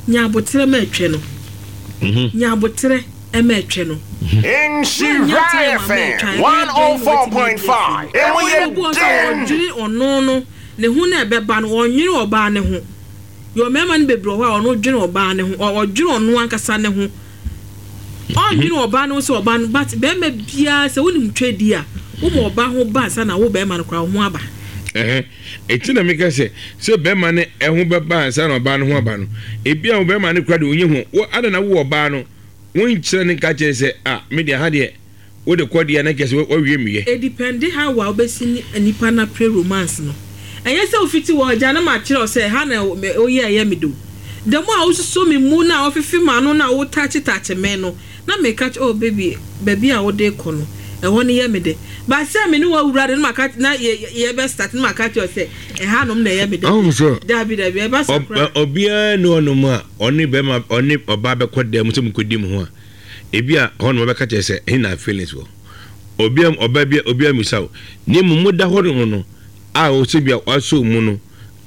[SPEAKER 2] nya aboterɛ ma ɛtwɛ no.
[SPEAKER 1] Mhm.
[SPEAKER 2] Nya aboterɛ ma ɛtwɛ no.
[SPEAKER 3] Nhyira
[SPEAKER 2] Woannya time amma
[SPEAKER 3] F M
[SPEAKER 2] ɛtwa a, ɛbɛyɛ dɛn na woatumi adi afiri mu?
[SPEAKER 3] one oh four point five. Emu
[SPEAKER 2] Ɛna
[SPEAKER 3] yɛ
[SPEAKER 2] obi wɔ hɔ nso a
[SPEAKER 3] den.
[SPEAKER 2] ɔdwene ɔno no, ne ho na ɛbɛba no, ɔnnwene ɔbaa no ho. Yɛwɔ mmarima no bebree wɔ hɔ a ɔno dwene ɔbaa no ho, ɔ- ɔdwene ɔno ankasa ne ho. Ɔnnwene ɔbaa no ho sɛ ɔbaa no, but bɛrima biara sɛ wonim twɛ di a, woma ɔbaa ho ba ansa na wo bɛrima no koraa wo ho aba.
[SPEAKER 1] Ɛhɛn. Eti na meka sɛ sɛ bɛrima no ɛho bɛba ansa na ɔbaa no ho aba no, ebi a wo bɛrima no koraa de onye ho. Wo ada na wo ɔbaa no, wonkyerɛ ne nka kyerɛ sɛ, ah, me deɛ ha deɛ wode kɔ deɛ na kyerɛ sɛ wawie meyɛ.
[SPEAKER 2] Edepende how a wobɛsi ne nipa no apre romance no. Ɛnyɛ sɛ wofiti hɔ agya na makyerɛ wo sɛ ha na woyɛ ɛyɛ me do. The more a wosuso me mu na wofefe m'ano na wo touch touch me no, na meka kyerɛ, oh baby, baabi a wode kɔ no, ɛhɔ no yɛ me dɛ. But sɛ me ne wo awura de na maka na yɛ yɛbɛ start na maka kyerɛ wo sɛ ɛha nom na ɛyɛ me dɛ.
[SPEAKER 1] Ɔhu sɛ
[SPEAKER 2] Dabi dabi, ɛba saa koraa.
[SPEAKER 1] obiara ne ɔnom a ɔne bɛrima ɔne ɔbaa bɛkɔ dan mu sɛ mokɔdi mu ho a, ebi a hɔ nom ɔbɛka kyerɛ sɛ ɛhe na feelings wɔ. Obiara ɔbaa bi obiara mmisa wo. Na mmom moda hɔ nom no a ɔsɛ bi a wasɔ mu no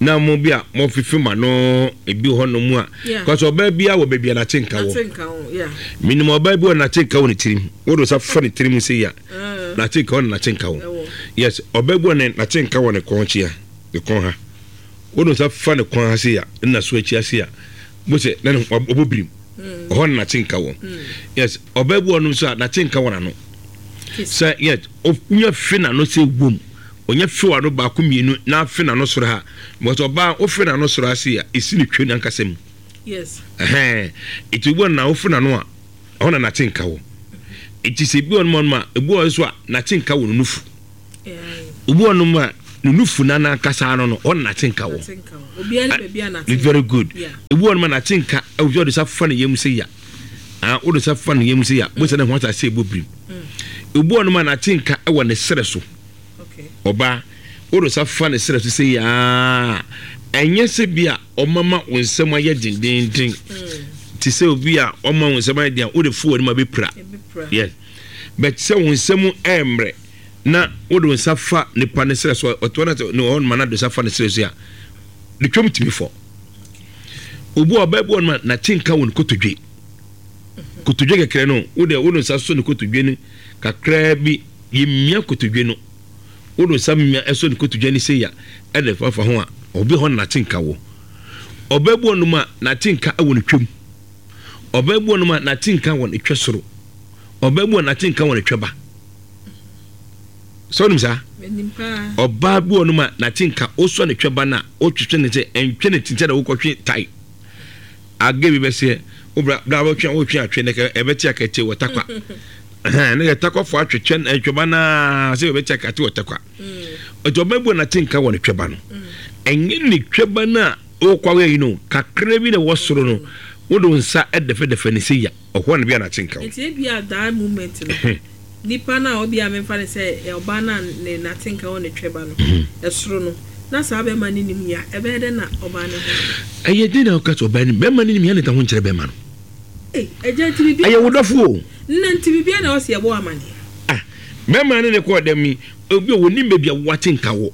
[SPEAKER 1] na mo bi a mɔfefe ma no ebi hɔ nom a,
[SPEAKER 2] Yeah.
[SPEAKER 1] kɔsɛ ɔbaa bi a wɔ baabi a n'ate nka wɔ.
[SPEAKER 2] Nate nka ho, yeah.
[SPEAKER 1] Menim ɔbaa bi wɔ n'ate nka wɔ ne tirim. Wode nsa fa ne tirim sɛ yi a,
[SPEAKER 2] Uh,
[SPEAKER 1] n'ate nka wɔ ne n'ate nka wɔ.
[SPEAKER 2] ɛwɔ.
[SPEAKER 1] Yes, ɔbaa bi wɔ ne n'ate nka wɔ ne kɔn kyea, ne kɔn ha. Wode nsa fa ne kɔn ha se a, ne so akyi ase a, bo sɛ na ne ɔbɔ birim.
[SPEAKER 2] Mm.
[SPEAKER 1] Ɔhɔ na n'ate nka wɔ.
[SPEAKER 2] Mm.
[SPEAKER 1] Yes, ɔbaa bi wɔ nom nso a n'ate nka wɔ n'ano.
[SPEAKER 2] Kiss.
[SPEAKER 1] Sɛ yes, onya fe n'ano sɛ wom. Onya fe w'ano baako mmienu na afe n'ano soro ha. Because ɔbaa wofe n'ano soro ase a, esi ne twa n'ankasa mu.
[SPEAKER 2] Yes.
[SPEAKER 1] Ɛhɛn. Eti obi wɔ na wofe n'ano a, ɛhɔ na n'ate nka wɔ. Eti sɛ ebi wɔ nom a, ebi wɔ nso a n'ate nka wɔ ne nufu.
[SPEAKER 2] Yeah.
[SPEAKER 1] Obi wɔ nom a ne nufu na n'ankasa ano no, hɔ na n'ate nka wɔ.
[SPEAKER 2] Nate nka ho. Obiara ne baabi a nate nka.
[SPEAKER 1] Very good.
[SPEAKER 2] Yeah.
[SPEAKER 1] Ebi wɔ nom a n'ate nka, ɛwɔ sɛ ɔde nsa fa ne yam sɛ ya. Ah, wode nsa fa ne yam sɛ ya, bo sɛ ne ho asase ɛbɔ birim.
[SPEAKER 2] Mm.
[SPEAKER 1] Ebi wɔ nom a n'ate nka ɛwɔ ne serɛ so.
[SPEAKER 2] Okay.
[SPEAKER 1] Ɔbaa, wode nsa fa ne serɛ so sɛ yaa, ɛnyɛ sɛ bi a ɔmama wo nsɛm ayɛ dendenden.
[SPEAKER 2] Mm.
[SPEAKER 1] Te sɛ obi a ɔma wo nsɛm ayɛ den a, wode fo w'anim a bɛpira.
[SPEAKER 2] Ebi pra.
[SPEAKER 1] Yes. But sɛ wo nsɛm ɛmmerɛ na wode wo nsa fa nipa ne serɛ so, ɔtoa no sɛ ne hɔ nom a na de nsa fa ne serɛ so a, ne twam tumi fɔ. Obi a ɔbaa bi wɔ nom a n'ate nka wɔ ne kotodwe. Kotodwe kɛkɛ no, wode wode nsa so ne kotodwe no kakraa bi, yɛmia kotodwe no. Wode nsa mia ɛsɔ ne kotodwe no sei a, ɛde fafa ho a, obi hɔ na n'ate nka wɔ. Ɔbaa bi wɔ nom a n'ate nka wɔ ne twam. Ɔbaa bi wɔ nom a n'ate nka wɔ ne twɛ soro. Ɔbaa bi wɔ n'ate nka wɔ ne twɛ ba. Sɛ wonim saa?
[SPEAKER 2] Menim paa.
[SPEAKER 1] Ɔbaa bi wɔ nom a n'ate nka wosɔ ne twɛ ba no a, wotwetwe ne sɛ ɛntwe ne ti sɛ na wokɔtwe tae. Age bi bɛseɛ, wobra bra wotwe wotwe atwe ne kɛ ɛbɛte akɛte wɔ takwa. Ɛhɛn, ne kɛ takwafo atwetwe twɛ ba naa sɛ ɛbɛte akɛte wɔ takwa.
[SPEAKER 2] Mm.
[SPEAKER 1] Ɔti ɔbaa bi wɔ n'ate nka wɔ ne twɛ ba no. Ɛnyɛ ne twɛ ba no a wokɔ awɛ yi no, kakra bi na ɛwɔ soro no, wode wo nsa ɛdɛfɛdɛfɛ ne sɛ ya, ɔhɔ na bi a n'ate nka wɔ.
[SPEAKER 2] Nti ebi a that moment no, nipa na obi a memfa ne sɛ ɔbaa na ne nate nka wɔ ne twɛ ba no, ɛsoro no, na saa bɛrima no nim ya, ɛbɛyɛ dɛ na ɔbaa ne ho.
[SPEAKER 1] Ɛyɛ den na woka sɛ ɔbaa nim, bɛrima no nim ya ne ta ho nkyerɛ bɛrima no.
[SPEAKER 2] Ei, agya nti biribi.
[SPEAKER 1] Ɛyɛ wo dɔfo o.
[SPEAKER 2] Nna nti biribi na ɔsi ɛbɔ amaneɛ.
[SPEAKER 1] Ah, bɛrima no ne kɔɔ dɛm yi, obi a wɔnim baabi a wowate nka wɔ.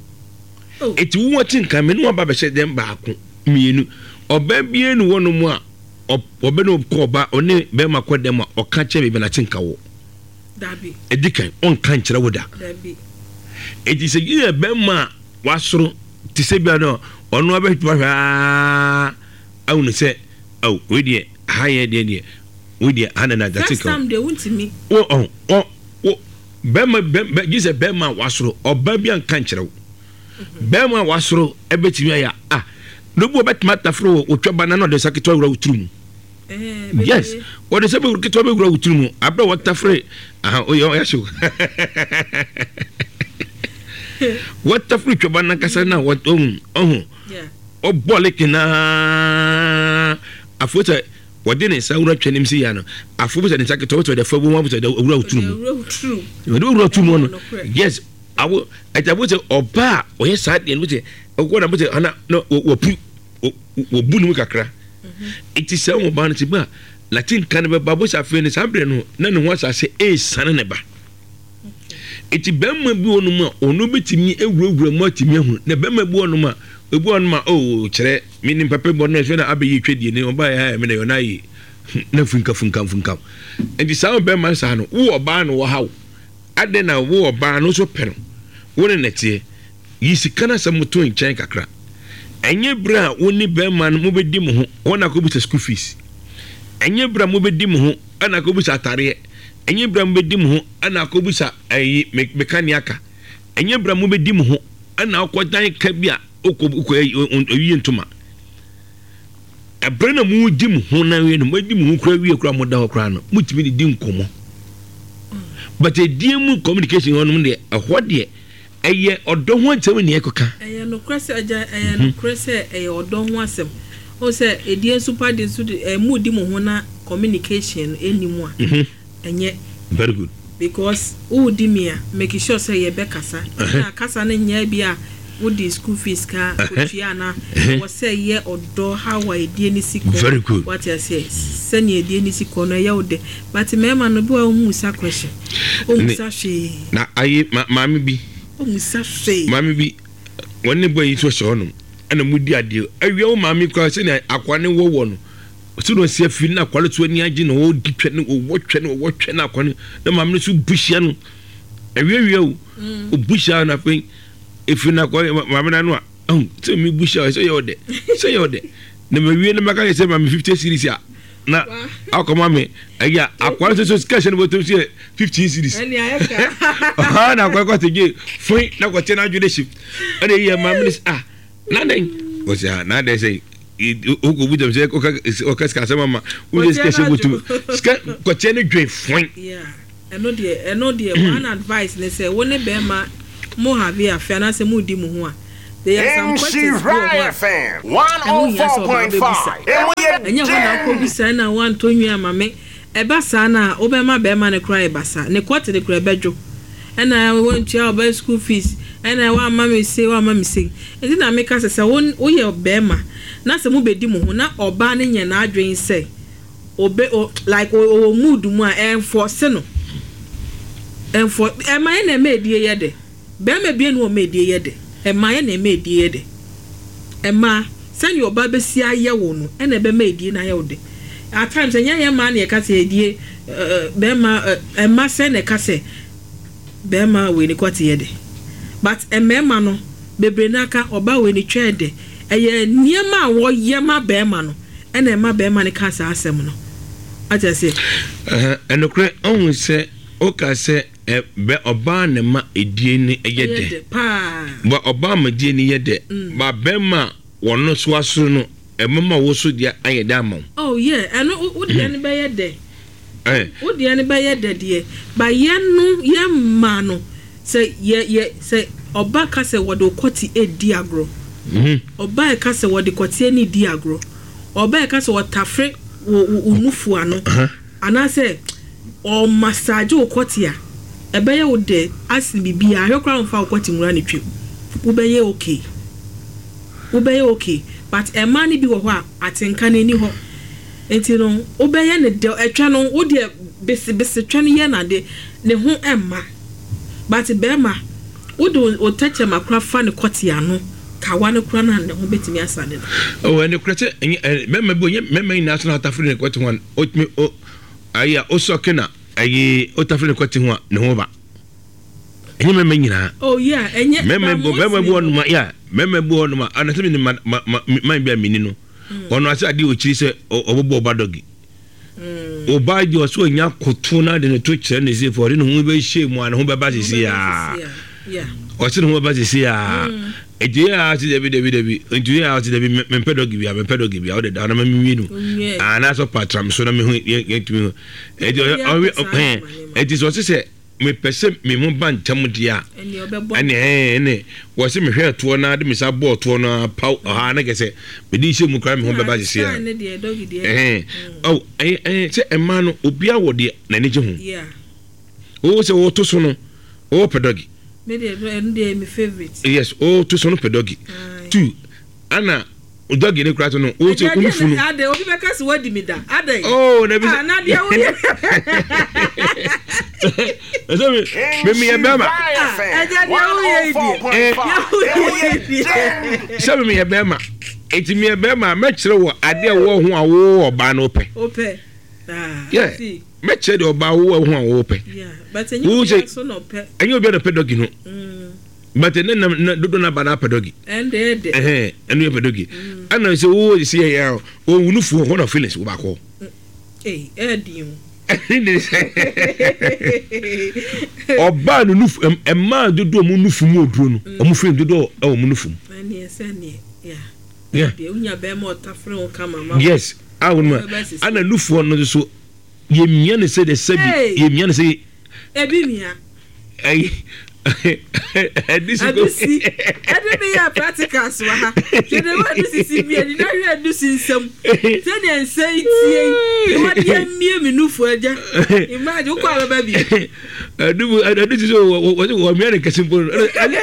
[SPEAKER 2] Oh.
[SPEAKER 1] Eti wowate nka me ne waba bɛhyɛ dɛm baako mmienu. Ɔbaa biara ni hɔ nom a ɔbɛ ne kɔ ɔba ɔne bɛrima kɔ dɛm a ɔka kyerɛ baabi a n'ate nka wɔ.
[SPEAKER 2] Dabi.
[SPEAKER 1] Edi kan ɔnka nkyerɛ wo da.
[SPEAKER 2] Dabi.
[SPEAKER 1] Eti sɛ yɛ bɛrima a wasoro te sɛ bia no ɔno abɛhwɛ aa ahunu sɛ awo wei deɛ ha yɛ deɛ deɛ wei deɛ ha na na n'ate
[SPEAKER 2] First
[SPEAKER 1] nka wɔ.
[SPEAKER 2] time deɛ wontumi.
[SPEAKER 1] Wo ɔn ɔ wo bɛrima bɛ gye sɛ bɛrima a wasoro ɔbaa bi anka nkyerɛ wo. Bɛrima a wasoro ɛbɛtumi ayɛ a na obi ɔbɛtumi ataforo wɔ otwa ba na na ɔde nsa ketewa wura wo tiri mu. Yes, wɔde nsa bɛwura ketewa bɛwura wo tiri mu abere a wɔtafere aha oyɛ ɔyɛ so wɔtafere twaba nankasa na wɔn ɔho ɔbɔ leke naa afo sɛ wɔde ne nsa wura twɛ ne mu si ya no afo sɛ ne nsa ketewa wɔsɛ ɔde fa bu mu afo sɛ ɔde wura wo tiri mu ɔde wura wo tiri mu no. Yes, awo ɛti abo sɛ ɔbaa ɔyɛ saa deɛ no sɛ ɔkɔ na bo sɛ ana na wɔpu wɔbu ne mu kakra. Eti sɛ wɔn ba no ti ba latin ka no bɛba bo sɛ afei no saa berɛ no na ne ho asase ɛresane ne ba. Eti bɛrima bi wɔ nom a ɔno bɛtumi awurawura mu atumi ahunu, na bɛrima bi wɔ nom a ebi wɔ nom a oh kyerɛ me ne papa bi wɔ nom a na abɛyɛ twɛdie ne ɔba yɛ ha me na yɛ ɔna ayɛ na funka funka funka. Enti saa bɛrima saa no wo ɔbaa no wɔ ha wo adɛn na wo ɔbaa no nso pɛ no wo ne nɛteɛ yi sika no asɛm to nkyɛn kakra. Ɛnyɛ berɛ a wo ne bɛrima no mobɛdi mo ho wɔn akɔbisa school fees, ɛnyɛ berɛ a mobɛdi mo ho ɛna akɔbisa atareɛ, ɛnyɛ berɛ a mobɛdi mo ho ɛna akɔbisa ɛyi mekanea ka, ɛnyɛ berɛ a mobɛdi mo ho ɛna akɔdan ka bi a wokɔ wokɔ ɛwie ntoma. Ɛberɛ na modi mo ho na wie no moadi mo ho kora wie kora moda hɔ koraa no motumi de di nkɔmmɔ. But ɛdie mu communication hɔ nom deɛ ɛhɔ deɛ ɛyɛ ɔdɔ ho asɛm ne ɛkɔka.
[SPEAKER 2] Ɛyɛ nokorɛ sɛ agya, ɛyɛ nokorɛ sɛ ɛyɛ ɔdɔ ho asɛm. O sɛ ɛdie nso pa de nso de ɛmu di mo ho na communication no ɛnni mu a ɛnyɛ.
[SPEAKER 1] Very good.
[SPEAKER 2] Because wo di mi a make sure sɛ yɛbɛkasa. Na kasa no nyɛ bi a wo di school fees ka otua na wɔ sɛ yɛ ɔdɔ how a ɛdie ne si kɔ.
[SPEAKER 1] Very good.
[SPEAKER 2] Wate aseɛ sɛnea ɛdie ne si kɔ no ɛyɛ wo dɛ. But mmarima no bi wa ɔmu sa question. Ɔmu sa hwee.
[SPEAKER 1] Na ayi maame bi.
[SPEAKER 2] Ɔmu sa hwee.
[SPEAKER 1] Maame bi wɔn ne bɔ yi nso hyɛ hɔnom ɛna mu di adeɛ awia wo maame kura sɛnea akwa ne wɔwɔ no sɛ na ɔsi afiri na akwa no so ani agye na wɔdi twɛ ne wɔwɔ twɛ ne wɔwɔ twɛ na akwa no na maame no so bu hyia no awiawia o obu hyia no afei efiri na akwa maame no ano a ɛho sɛ mi bu hyia sɛ yɛ ɔdɛ sɛ yɛ ɔdɛ na ma wie na maka yɛ sɛ maame fifty series a na akɔma me ɛyɛ akwa no so sika hyɛ no bɔtɔm so yɛ fifteen series ɔha na akwa kɔte gye foi na kɔte no adwene hye ɛna ɛyɛ maame no sɛ ah na dɛn ɔsɛ ah na dɛn sɛ wokɔ bu gyam sɛ ɔka sika asɛm ama wode sika hyɛ bɔtɔm sika kɔteɛ no dwen foi.
[SPEAKER 2] Ɛno deɛ ɛno deɛ one advice ne sɛ wo ne bɛrima mo have affair anaasɛ mo di mo ho a there are some questions bi wɔ hɔ a ɛho hia sɛ ɔbaa bɛbisa. Ɛnyɛ hɔ na akɔbisa na woantɔ nwi ama me ɛba saa na wobɛma bɛrima no koraa ɛba saa ne kɔte ne koraa ɛbɛdwo ɛna woantua ɔbaa school fees ɛna woamma me sei woamma me sei. Nti na meka sɛ sɛ woyɛ bɛrima na sɛ mobɛdi mo ho na ɔbaa no nyɛ n'adwene sɛ obe o like ɔwɔ mood mu a ɛnfɔse no ɛnfɔ ɛma yɛ na ɛma edie yɛ dɛ bɛrima bie no ɔma edie yɛ dɛ ɛma yɛ na ɛma edie yɛ dɛ ɛma sɛnea ɔbaa bɛsi ayɛ wo no ɛna ɛbɛma edie na ayɛ wo dɛ. At times ɛnyɛ yɛ mmaa na yɛka sɛ edie ɛɛ bɛrima ɛma sɛ na ɛka sɛ bɛrima wei ne kɔte yɛ dɛ but mmarima no bebree n'aka ɔbaa wei ne twɛ dɛ ɛyɛ nneɛma a wɔyɛ ma bɛrima no ɛna ɛma bɛrima no ka saa asɛm no ate ase.
[SPEAKER 1] Ɛnokorɛ ɔhu sɛ ɔka sɛ bɛ ɔbaa ne ma edie ne ɛyɛ dɛ ba ɔbaa ma edie ne yɛ dɛ ba bɛrima wɔn no so asoro no ɛmɛma wo so deɛ ayɛ dɛ ama wo.
[SPEAKER 2] Oh yeah, ɛno wo deɛ no bɛyɛ dɛ wo deɛ no bɛyɛ dɛ deɛ ba yɛn no yɛn mmaa no sɛ yɛ yɛ sɛ ɔba ka sɛ wɔde kɔte edi agorɔ ɔba ka sɛ wɔde kɔte ani di agorɔ ɔba ka sɛ ɔtafere wɔ wo nufu ano anaasɛ ɔmasaagye wo kɔte a ɛbɛyɛ wo dɛ asene biribiara ahwɛ koraa mfa wo kɔte nwura ne twam wobɛyɛ okay wobɛyɛ okay but mmaa no bi wɔ hɔ a atenka no ani hɔ nti no wobɛyɛ ne dɛ ɛtwa no wo deɛ besebese twɛ no yɛ n'ade ne ho ɛmma but bɛrima wode wo tɛkyɛma kora fa ne kɔte ano kawa no kora na ne ho bɛtumi asane no.
[SPEAKER 1] Ɔwɔ ɛne kora sɛ ɛnyɛ mɛma bi ɔnyɛ mɛma nyinaa so na atafere ne kɔte ho a ɔtumi ɔ ayi a ɔsɔke na ayi ɔtafere ne kɔte ho a ne ho ba ɛnyɛ mɛma nyinaa.
[SPEAKER 2] Oh yeah, ɛnyɛ
[SPEAKER 1] mɛma bi mɛma bi wɔ nom a yeah mɛma bi wɔ nom a anasɛ mi ne ma ma ma man bi a mi ni no ɔno ase adeɛ ɔkyiri sɛ ɔbɛbɔ ɔba dɔgi ɔba deɛ ɔsɛ ɔnya koto na de ne to kyerɛ ne se fɔ ɔde ne ho bɛhyɛ mu a ne ho bɛba sisi yaa. Ɔse ne ho bɛba sisi a ɛnti yɛ a ɔse dabi, dabi, dabi. Nti yɛ a ɔse dabi, mempɛ doggy bia, mempɛ doggy bia. Wode da na ma menwie no anaasɛ ɔpa tram so na mehu yɛntumi ho. Ɛnti ɔwe ɛnti sɛ ɔse sɛ mepɛ sɛ me ho ba ntɛm deɛ a, ɛne ɛne wɔse mehwɛ ɛtoɔ no de me sa bɔɔ toɔ no paw ɔha na kɛ sɛ mede hyɛ mu koraa me ho bɛba sisi a. Ɛhɛn ɔw ɛyɛ sɛ ɛmaa no obiara wɔ deɛ n'ani gye ho. Wo sɛ wɔto so no wɔpɛ doggy.
[SPEAKER 2] Me deɛ, ɛno deɛ mi favourite.
[SPEAKER 1] Yes, wɔto so no pɛ doggy. Two, ana doggy ne kura so no wo sɛ wo nufu no.
[SPEAKER 2] Ade obi bɛka sɛ wadi mi da ade.
[SPEAKER 1] Oh, na bi sɛ.
[SPEAKER 2] Na deɛ woyɛ.
[SPEAKER 1] Ɛsɛ mi mi mi yɛ bɛrima.
[SPEAKER 2] Ɛgya deɛ woyɛ yi deɛ. Deɛ woyɛ yi deɛ.
[SPEAKER 1] Sɛ mi mi yɛ bɛrima, eti mi yɛ bɛrima, mɛkyerɛ wɔ adeɛ wɔ ho a wo ɔbaa no pɛ.
[SPEAKER 2] O pɛ.
[SPEAKER 1] Yeah, mɛkyerɛ deɛ ɔbaa wo wɔ ho a wo pɛ.
[SPEAKER 2] Wo
[SPEAKER 1] sɛ ɛnyɛ obiara na pɛ doggy no. But ne nam na dodo na ba na apɛ doggy. Ɛhɛn, ɛno yɛ pɛ doggy. Ɛna sɛ wo si yɛ yɛ o wo nufu hɔ na feelings wo baako.
[SPEAKER 2] Ɛɛdi o.
[SPEAKER 1] Ɔbaa no nufu, mmaa dodo ɔmo nufu mu oduro no, ɔmo feeling dodo ɛwɔ ɔmo nufu mu.
[SPEAKER 2] Ɛneɛ sɛ neɛ yeah.
[SPEAKER 1] Yeah.
[SPEAKER 2] Wonya bɛrima ɔtafere wo kama ma.
[SPEAKER 1] Yes, a wɔn mu ana nufoɔ no nso yɛmia ne sɛ de sɛbi yɛmia ne sɛ.
[SPEAKER 2] Ebi mia.
[SPEAKER 1] Ɛyi ɛdi si ko.
[SPEAKER 2] Ɛdi si ɛdi mi yɛ practicals wɔ ha. Twene wɔ ɛdi sisi mi ɛdi na hwɛ ɛdi si nsam. Sɛdeɛ nsa yi tie yi na wɔde emie mi nufu agya. Imagine wokɔ abɛba bi.
[SPEAKER 1] Ɛdi mu ɛdi si so wɔ wɔ wɔ mia ne kɛse mpo ɛdi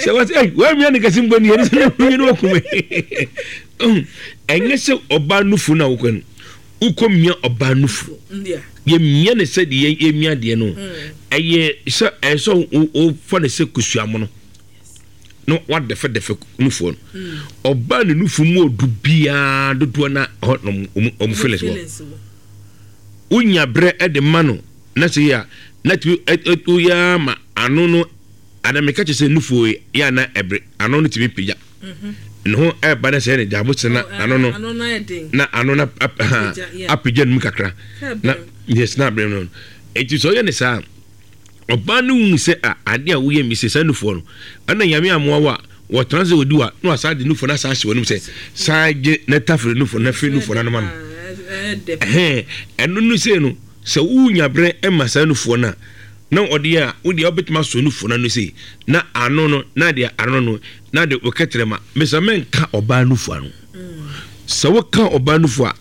[SPEAKER 1] sɛ wɔ sɛ wɔ mia ne kɛse mpo ni ɛdi sɛ ne hu ne wɔ kume. Ɛnyɛ sɛ ɔbaa nufu na wokɔ no wokɔ mia ɔbaa nufu yɛmia ne sɛ deɛ yɛmia deɛ no, ɛyɛ sɛ ɛyɛ sɛ wofa ne sɛ kusuamono na wadɛfɛdɛfɛ nufoɔ no. Ɔbaa ne nufu mu odu biara dodoɔ na hɔ na ɔmo feelings wɔ. Wonya berɛ ɛde ma no na sɛ yɛ a na tumi woyɛ ama ano no ana meka kyerɛ sɛ nufuo yɛ ana ɛbere ano no tumi pagya ne ho ɛba na sɛ ne gya abotire na ano no na ano no apagya no mu kakra na yes, na abere no. Eti sɛ ɔyɛ ne saa, ɔbaa no hu sɛ a ade a woyɛ mi sɛ saa nufoɔ no ɛna Nyame amoa wo a wɔtena sɛ wɔdi wa na wasa de nufoɔ no asa ahyɛ wɔn sɛ saa gye na tafere nufoɔ na firi nufoɔ no anoma no. Ɛhɛn, ɛno no sɛ no sɛ wonya berɛ ɛma saa nufoɔ no a na ɔde a wode a wobɛtumi asɔ nufoɔ no ano sei na ano no na de ano no na de wokɛtrɛ ma mesa mɛnka ɔbaa nufoɔ ano. Sɛ woka ɔbaa nufoɔ a